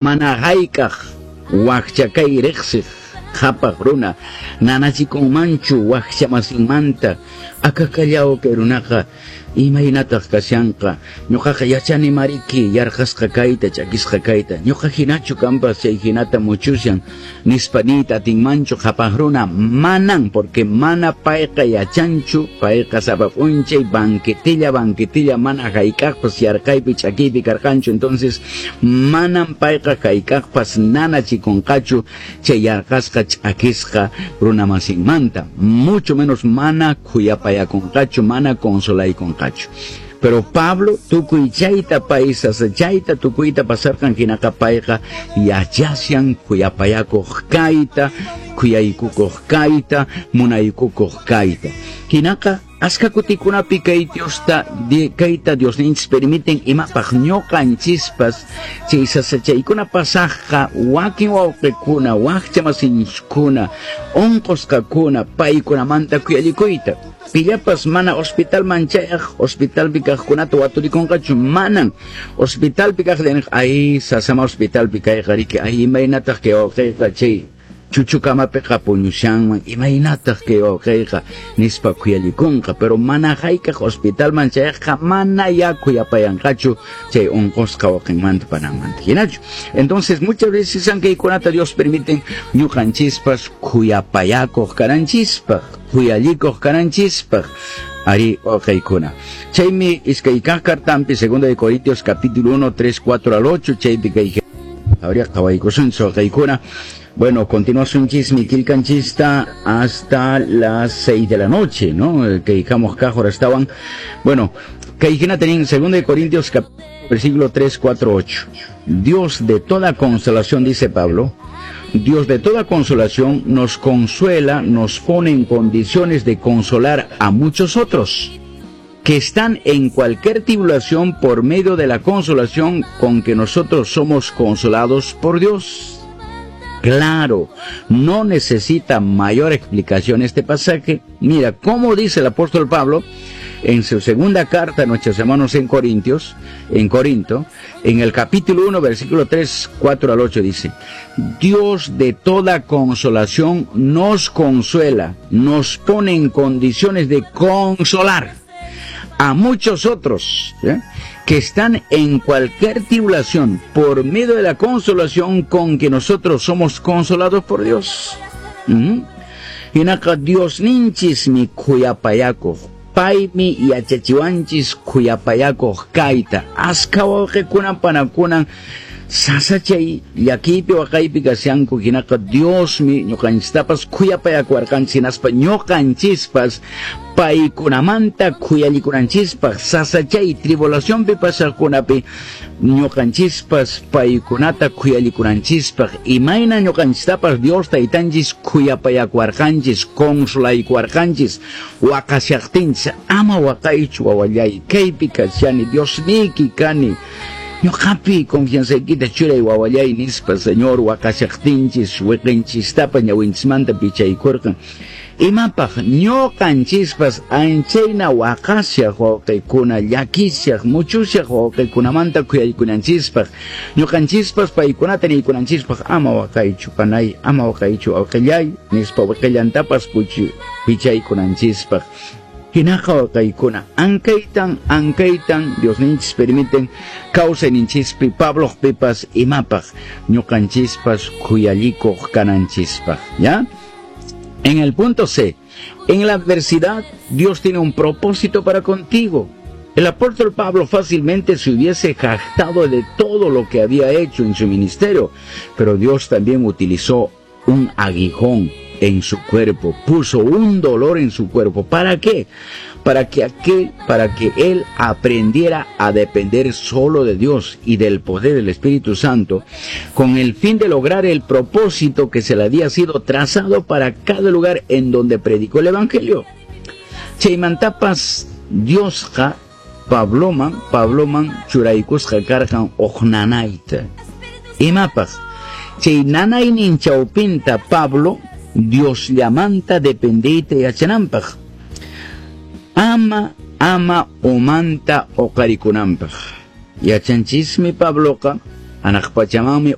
Mana hayk'aq wakcha kay riqsiq qhapaq runa nanachikunmanchu wakcha masinmanta, akakallaw kay runaqa imaynataq kashanqa, ñuqaqa yachani mariki yarqasqa kayta, ch'akisqa kayta, ñuqa hinachu kanpas chay hinata muchushan nispa niyta atinmanchu qhapaq runa, manan, porque mana payqa yachanchu, payqa sapa p'unchay banquetilla banquetilla mana hayk'aqpas yarqaypi ch'akiypi karqanchu, entonces manam payqa hayk'aqpas nanachikunqachu chay yarqasqa ch'akisqa runamasinmanta, mucho menos mana khuyapayakunqachu, mana consolaykunqachu. Pero Pablo tukuy chayta pay sasachayta tukuyta pasarqan hinaqa payqa yachashan khuyapayakuq kayta, khuyaykukuq kayta, munaykukuq kayta. Hinaqa askha kutikunapi kay Diosta kayta Diosninchis permiten imapaq ñuqanchispas chay sasachaykuna pasaqqa wakin wawqikuna, wakcha masinchiskuna, unqusqakuna paykunamanta khuyallikuyta. Pillapas mana hospitalman chayaq, hospitalpi kaqkunata waturikunqachu, manan. Hospitalpi kaq ay sasama hospitalpi kayqa riki, ay imaynataq kay wawqiyqa chay chuchukamapiqa puñushanman, imaynataq kay wawqiyqa nispa khuyallikunqa, pero mana hayk'aq hospitalman chayaqqa mana ya khuyapayanqachu chay unqusqa wawqinmanta pananmanta hinachu. Entonces muchas veces kaykunata Dios permiten ñuqanchispas khuyapayakuq kananchispaq, khuyallikuq kananchispaq ari wawqiykuna. Chaymi iskay kaq cartampi, segunda de Corintios capítulo 1, 3, 4 al 8, chaypi kay habría qhawaykusunchis wawqiykuna. Bueno, continuasunchis mi qillqanchista hasta las 6 de la noche, ¿no? Que dejamos kaq estaban. Bueno, kay hinata nin segunda de Corintios versículo 3, 4, 8. Dios de toda consolación, dice Pablo, Dios de toda consolación nos consuela, nos pone en condiciones de consolar a muchos otros que están en cualquier tribulación por medio de la consolación con que nosotros somos consolados por Dios. Claro, no necesita mayor explicación este pasaje. Mira, cómo dice el apóstol Pablo en su segunda carta a nuestros hermanos en Corintios, en Corinto, en el capítulo 1, versículo 3, 4 al 8 dice: Dios de toda consolación nos consuela, nos pone en condiciones de consolar a muchos otros, ¿eh?, que están en cualquier tribulación por medio de la consolación con que nosotros somos consolados por Dios. Hinaqa Diosninchismi khuyapayakuq, paymi yachachiwanchis khuyapayakuq kayta. Askha wawqikunan panakunan sasachay llakiypi waqaypi kashanku, hinaqa Diosmi ñuqanchistapas khuyapayakuwarqanchis, hinaspa ñuqanchispas paykunamanta khuyallikunanchispaq sasachay tribulacionpi pasaqkunapi ñuqanchispas paykunata khuyallikunanchispaq, imayna ñuqanchistapas Dios taytanchis khuyapayakuwarqanchis, consolaykuwarqanchis waqashaqtinchis, ama waqaychu wawallay, kaypi kashani, Diosniyki kani, ñuqapi confianzaykita churay wawallay nispa Señor waqashaqtinchis wiqinchistapas ñawinchismanta pichaykurqan. Imapaq ñuqanchispas anchayna waqashaq wawqikuna, llakishaq, muchushaq wawqikunamanta khuyaykunanchispaq, ñuqanchispas paykunata niykunanchispaq, ama waqaychu panay, ama waqaychu wawqillay nispa wiqillantapas pichaykunanchispaq. Hinaqa wawqiykuna, ankaytan, ankaytan Diosninchis permiten kawsayninchispi Pabloqpipas imapaq ñuqanchispas khuyallikuq kananchispaq, ¿ya? En el punto C, en la adversidad, Dios tiene un propósito para contigo. El apóstol Pablo fácilmente se hubiese jactado de todo lo que había hecho en su ministerio, pero Dios también utilizó un aguijón en su cuerpo, puso un dolor en su cuerpo. ¿Para qué? Para que él aprendiera a depender solo de Dios y del poder del Espíritu Santo, con el fin de lograr el propósito que se le había sido trazado para cada lugar en donde predicó el Evangelio. Chaymantapas Diosqa Pabloman churaykusqa karqan uj nanayta. Imapaq? Chay nanaynin chawpinta Pablo Diosllamanta dependeyta yachananpaq. Ama umanta uqarikunanpaq. Yachanchismi Pabloqa Hanaq pachamanmi.